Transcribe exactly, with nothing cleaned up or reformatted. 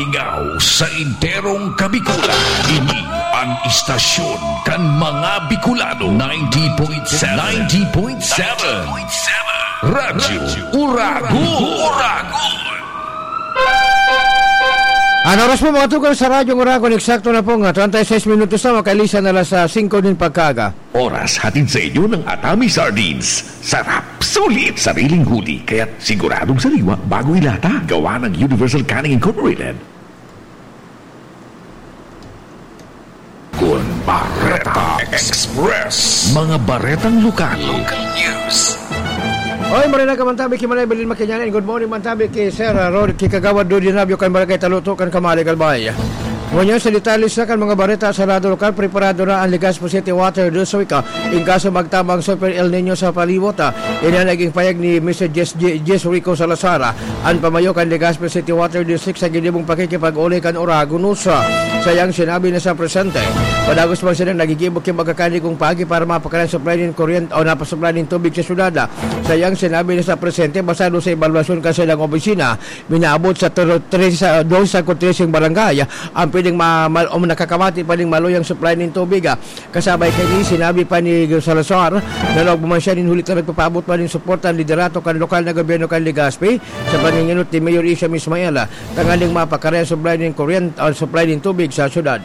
Ingaw sa enterong Kabikulan. Ini an istasyon kan mga Bicolano. Ninety point seven. Ninety point seven. Radyo Uragon. Uragon. An oras po, mga tugang, sa Radyo Uragon, eksakto na po nga treinta y seis minutos na, makailisan na alas singko nin pagkaaga. Oras hatid sa inyo ng Atami Sardines. Sarap, sulit, sariling huli, kaya't siguradong sariwa bago ilata. Gawa ng Universal Canning Incorporated. Kun Bareta Express. Mga baretang lokal. Local news. Oy, marhay na ka man tabi ki Manay Belen Makinyana. Good morning man tabi ki Sir, ah, Rod, ki Kagawad Dodi Nabio kan Barangay Taluto kan Kamalig, Albay. Ngunyan sa detalye sa kan mga bareta sa lado lokal, preparado na ang Legazpi City Water District, ah, in kaso magtabang Super El Nino sa palibot, ah. Ini ang naging payag ni Mister Jess, Jess Rico Salazar, ah, an pamayo kan Legazpi City Water District sa ginibong pakikipag-uli kan Oragon News. Sa iyang sinabi na sa presente, padagos man silang nagigibo ki magkakanigong paagi para mapakanan supply nin kuryente o napasupply nin tubig sa syudad. Sa iyang sinabi na sa presente, basado sa ebalwasyon kan saindang opisina, minaabot sa tro-, trese, doce sa trese barangay ang pwedeng ma-, ma-, o nakakamati pa ning maluyang supply nin tubig, ah. Kasabay kaini, sinabi pa ni Salazar na nagmaman siya nin huli ta nagpapaabot pa nin suporta ang liderato kan lokal na gobyerno kan Legazpi sa pangingenot ni Mayor Isham Ismael, ah, tanganing mapakaray ang supply nin kuryente, ah, supply nin tubig sa syudad.